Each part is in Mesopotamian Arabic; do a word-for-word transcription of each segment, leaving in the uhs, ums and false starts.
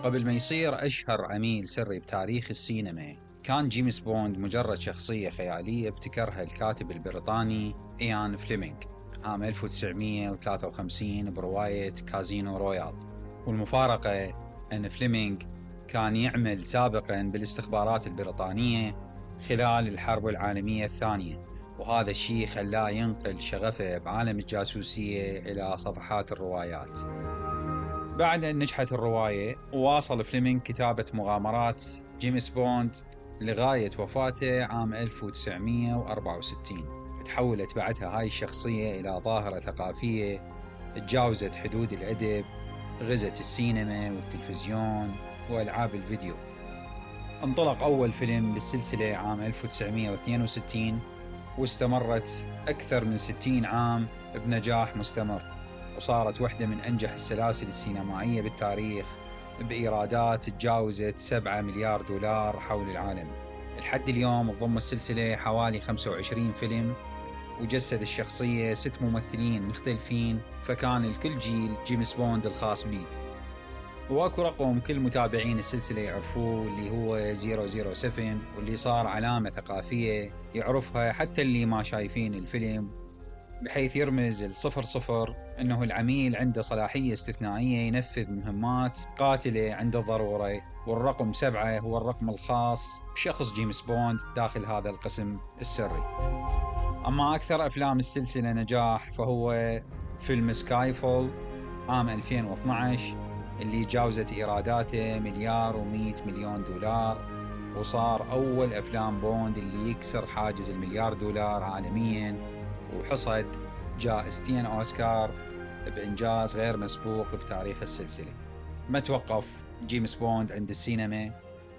قبل ما يصير أشهر عميل سري بتاريخ السينما، كان جيمس بوند مجرد شخصية خيالية ابتكرها الكاتب البريطاني إيان فليمنغ عام ألف وتسعمية وثلاثة وخمسين برواية كازينو رويال. والمفارقة أن فليمنغ كان يعمل سابقاً بالاستخبارات البريطانية خلال الحرب العالمية الثانية، وهذا الشيء خلاه ينقل شغفه بعالم الجاسوسية إلى صفحات الروايات. بعد أن نجحت الرواية، واصل فليمنغ كتابة مغامرات جيمس بوند لغاية وفاته عام ألف وتسعمية وأربعة وستين. تحولت بعدها هاي الشخصية إلى ظاهرة ثقافية تجاوزت حدود الأدب، غزت السينما والتلفزيون وألعاب الفيديو. انطلق أول فيلم للسلسلة عام ألف وتسعمية واثنين وستين، واستمرت أكثر من ستين عام بنجاح مستمر، وصارت واحدة من أنجح السلاسل السينمائية بالتاريخ بإيرادات تجاوزت سبعة مليار دولار حول العالم. لحد اليوم تضم السلسلة حوالي خمسة وعشرين فيلم، وجسد الشخصية ست ممثلين مختلفين، فكان الكل جيل جيمس بوند الخاص به. واكو رقم كل متابعين السلسلة يعرفوه اللي هو صفر صفر سبعة، واللي صار علامة ثقافية يعرفها حتى اللي ما شايفين الفيلم، بحيث يرمز الصفر صفر أنه العميل عنده صلاحية استثنائية ينفذ مهمات قاتلة عند الضرورة، والرقم سبعة هو الرقم الخاص بشخص جيمس بوند داخل هذا القسم السري. أما أكثر أفلام السلسلة نجاح فهو فيلم سكاي فول عام ألفين واثناشر، اللي جاوزت إيراداته مليار ومئة مليون دولار، وصار أول أفلام بوند اللي يكسر حاجز المليار دولار عالمياً، وحصد جائزتين أوسكار بإنجاز غير مسبوق بتاريخ السلسلة. ما توقف جيمس بوند عند السينما،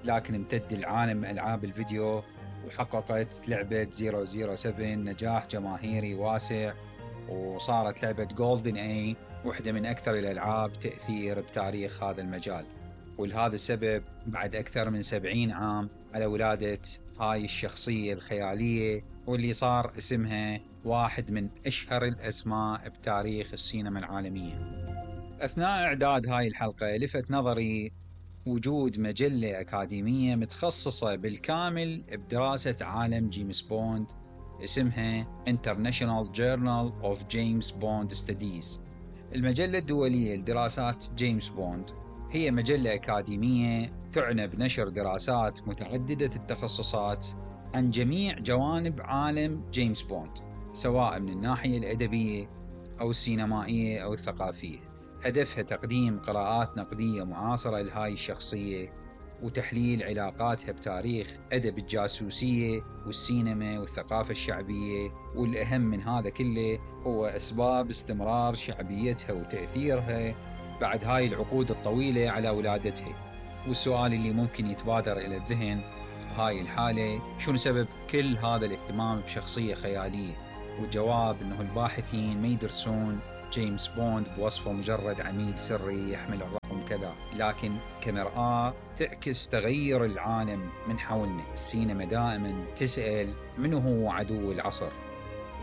لكن امتد العالم ألعاب الفيديو، وحققت لعبة صفر صفر سبعة نجاح جماهيري واسع، وصارت لعبة جولدن اي واحدة من أكثر الألعاب تأثير بتاريخ هذا المجال. ولهذا السبب بعد أكثر من سبعين عام على ولادة هاي الشخصية الخيالية، واللي صار اسمها واحد من أشهر الأسماء بتاريخ السينما العالمية. أثناء إعداد هاي الحلقة لفت نظري وجود مجلة أكاديمية متخصصة بالكامل بدراسة عالم جيمس بوند، اسمها International Journal of James Bond Studies. المجلة الدولية لدراسات جيمس بوند هي مجلة أكاديمية تعنى بنشر دراسات متعددة التخصصات عن جميع جوانب عالم جيمس بوند، سواء من الناحية الأدبية أو السينمائية أو الثقافية. هدفها تقديم قراءات نقدية معاصرة لهاي الشخصية، وتحليل علاقاتها بتاريخ أدب الجاسوسية والسينما والثقافة الشعبية. والأهم من هذا كله هو أسباب استمرار شعبيتها وتأثيرها بعد هاي العقود الطويلة على ولادتها. والسؤال اللي ممكن يتبادر إلى الذهن هاي الحالة، شنو سبب كل هذا الاهتمام بشخصية خيالية؟ والجواب أنه الباحثين ما يدرسون جيمس بوند بوصفه مجرد عميل سري يحمل الرقم كذا، لكن كمرآة تعكس تغير العالم من حولنا. السينما دائما تسأل منو هو عدو العصر،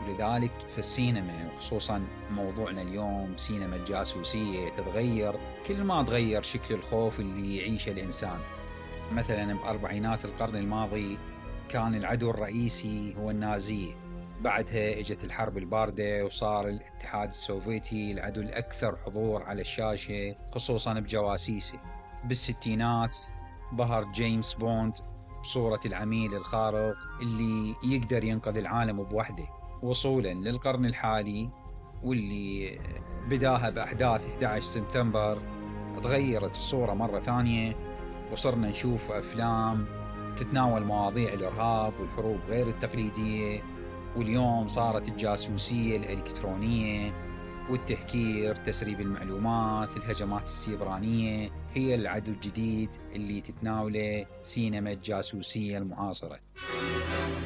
ولذلك في السينما وخصوصا موضوعنا اليوم سينما الجاسوسية تتغير كل ما تغير شكل الخوف اللي يعيشه الإنسان. مثلا بأربعينات القرن الماضي كان العدو الرئيسي هو النازية، بعدها اجت الحرب الباردة وصار الاتحاد السوفيتي العدو الأكثر حضور على الشاشة خصوصا بجواسيسه. بالستينات ظهر جيمس بوند بصورة العميل الخارق اللي يقدر ينقذ العالم بوحده. وصولا للقرن الحالي واللي بداها بأحداث أحد عشر سبتمبر، تغيرت الصورة مرة ثانية، وصرنا نشوف أفلام تتناول مواضيع الإرهاب والحروب غير التقليدية. واليوم صارت الجاسوسية الإلكترونية والتهكير، تسريب المعلومات، الهجمات السيبرانية هي العدو الجديد اللي تتناوله سينما الجاسوسية المعاصرة.